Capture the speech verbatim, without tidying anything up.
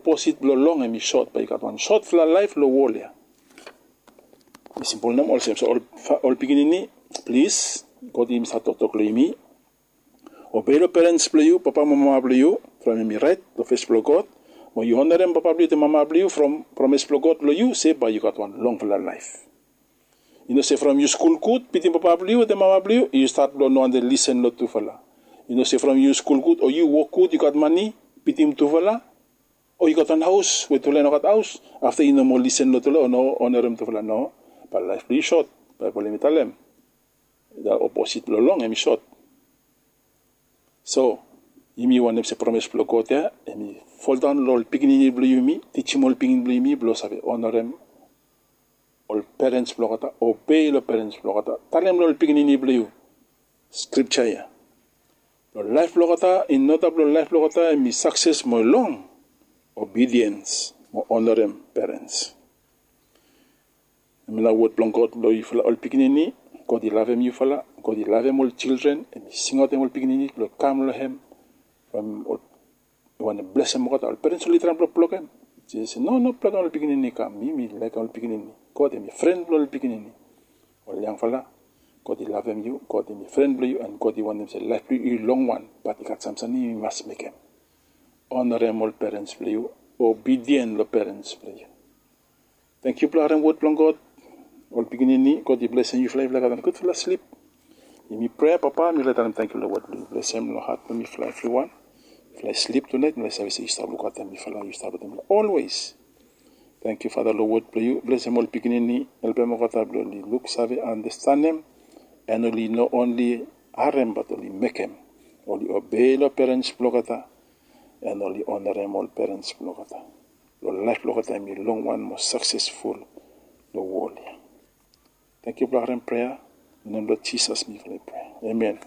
oposit blong long hem i sot, bae yu gat wan sotfala laef long wol ya. I simpol nem olsem. So ol pikinini, plis, God i stap toktok long yumi. Obei long perens blong yu, papa mo mama blong yu, from hem i raet long fes blong God. Mo yu onarem papa blong yu wetem mama blong yu from promes blong God long yu se bae yu gat wan longfala laef. I no se from yu skul gud, bitim papa blong yu wetem mama blong yu, yu stat blong no wante lisen long tufala. I no se from yu skul gud o yu wok gud, yu gat mane, bitim tufala, o yu gat wan haos we tufala i no gat haos, afta yu no moa lisen long tufala o no onarem tufala. No, bae laef blong yu sot. Baebol hem i talem, oposit blong long hem i sot. So yumi wantem se promes blong God ya hem i foldaon long ol pikinini blong yumi, tijim ol pikinini blong yumi blong save onarem ol perens blong olgeta, obei long perens blong olgeta. Talem long ol pikinini blong yu skripja ya, long laef blong olgeta, in oda blong laef blong olgeta hem i sakses mo long obediens mo onarem perens. Hemia nao wod blong God long yufala ol pikinini. God i lavem yufala. God i lavem ol jildren. Hem i singaotem ol pikinini blong kam long hem. From ol i wantem blesem olgeta. Ol perens oli traem blong blokem. Jisas i se, no, no blokem ol pikinini i kam. Mi mi laekem ol pikinini. God hem i fren blong ol pikinini. Ol yangfala, God i lavem yu. God hem i fren blong yu, and God i wantem se laef blong yu i longwan. Bat i gat sam samting yu mas mekem. Onarem ol perens blong yu. Obedien long perens blong yu. Tangkiu blong harem wod blong God. Ol pikinini, God i blesem yufala. Yufala gat wan gudfala slip. Yumi prea, Papa, mifala i talem tangkiu long wod blong yu. Blesem long hat blong mifala evriwan. Mifala i slip tunaet, mifala i save se yu stap lukautem mifala, yu stap wetem mifala olwes. Tangkiu Fada long wod blong yu. Blesem ol pikinini, helpem olgeta blong oli luksave, andastanem, and oli no onli harem bat oli mekem. Oli obei long perens blong olgeta, and oli onarem ol perens blong olgeta. Blong laef blong olgeta hem i longwan mo saksesful long wol ya. Tangkiu blong harem prea. Long nem blong Jisas mifala i prea. Amen.